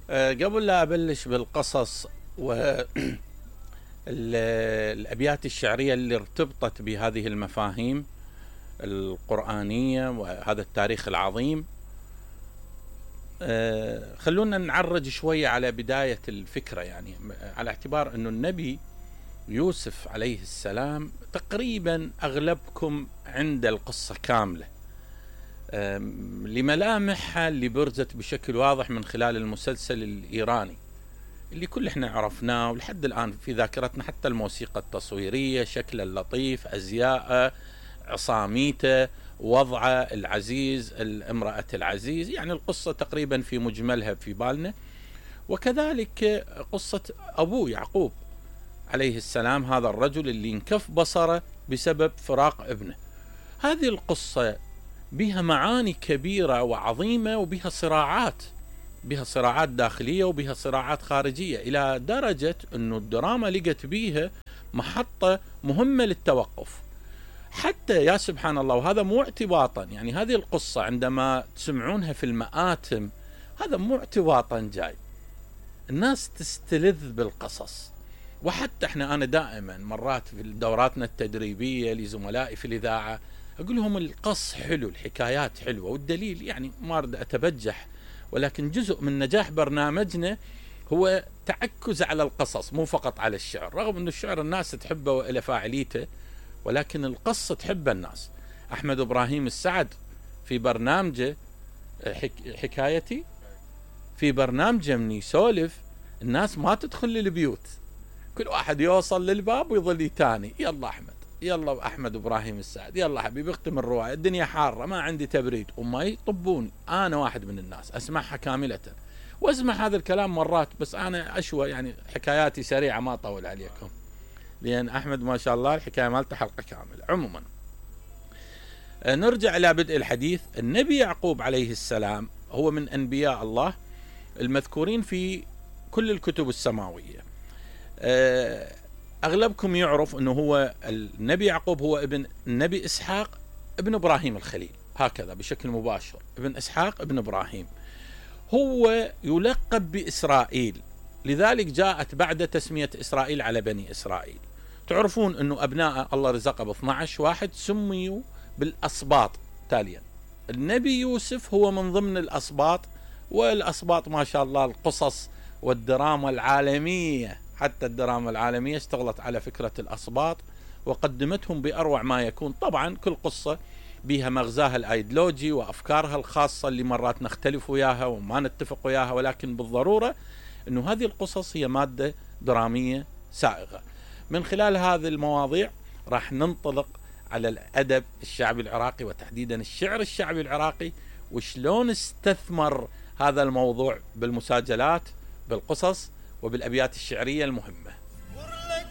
قبل لا أبلش بالقصص والأبيات الشعرية اللي ارتبطت بهذه المفاهيم القرآنية وهذا التاريخ العظيم، خلونا نعرج شوية على بداية الفكرة، يعني على اعتبار أنه النبي يوسف عليه السلام تقريبا أغلبكم عند القصة كاملة لملامحها اللي برزت بشكل واضح من خلال المسلسل الإيراني اللي كل احنا عرفناه ولحد الآن في ذاكرتنا، حتى الموسيقى التصويرية، شكله اللطيف، أزياءه، عصاميته، وضعه العزيز، الامرأة العزيز، يعني القصة تقريبا في مجملها في بالنا. وكذلك قصة أبوه يعقوب عليه السلام، هذا الرجل اللي انكف بصره بسبب فراق ابنه. هذه القصة بها معاني كبيرة وعظيمة، وبها صراعات داخلية وبها صراعات خارجية، إلى درجة أنه الدراما لقت بيها محطة مهمة للتوقف. حتى يا سبحان الله، وهذا مو اعتباطا، يعني هذه القصة عندما تسمعونها في المآتم هذا مو اعتباطا جاي، الناس تستلذ بالقصص. وحتى انا دائما مرات في دوراتنا التدريبية لزملائي في الإذاعة أقول لهم القص حلو، الحكايات حلوة، والدليل يعني ما أريد أتبجح، ولكن جزء من نجاح برنامجنا هو تعكز على القصص مو فقط على الشعر، رغم أن الشعر الناس تحبه وإلى فاعليته، ولكن القصة تحب الناس. أحمد إبراهيم السعد في برنامجه حكايتي، في برنامجه من يسولف الناس ما تدخل للبيوت، كل واحد يوصل للباب ويظل يتاني، يلا أحمد، يلا أحمد إبراهيم السعد، يلا حبيبي اختم الرواية، الدنيا حارة ما عندي تبريد، وما يطبون. أنا واحد من الناس أسمعها كاملة، واسمع هذا الكلام مرات، بس أنا أشوى يعني حكاياتي سريعة ما أطول عليكم، لأن أحمد ما شاء الله الحكاية مالته حلقة كاملة. عموما نرجع إلى بدء الحديث. النبي يعقوب عليه السلام هو من أنبياء الله المذكورين في كل الكتب السماوية. أغلبكم يعرف أنه هو النبي يعقوب هو ابن النبي إسحاق ابن إبراهيم الخليل، هكذا بشكل مباشر، ابن إسحاق ابن إبراهيم. هو يلقب بإسرائيل، لذلك جاءت بعد تسمية إسرائيل على بني إسرائيل. تعرفون أنه أبناء الله رزقه ب12 واحد سميوا بالأسباط تاليا. النبي يوسف هو من ضمن الأسباط، والأسباط ما شاء الله القصص والدراما العالمية، حتى الدراما العالمية اشتغلت على فكرة الأسباط وقدمتهم بأروع ما يكون. طبعا كل قصة بها مغزاها الأيديولوجي وأفكارها الخاصة اللي مرات نختلف وياها وما نتفق وياها، ولكن بالضرورة أنه هذه القصص هي مادة درامية سائغة. من خلال هذه المواضيع راح ننطلق على الأدب الشعبي العراقي، وتحديدا الشعر الشعبي العراقي، وشلون استثمر هذا الموضوع بالمساجلات، بالقصص، وبالأبيات الشعرية المهمة.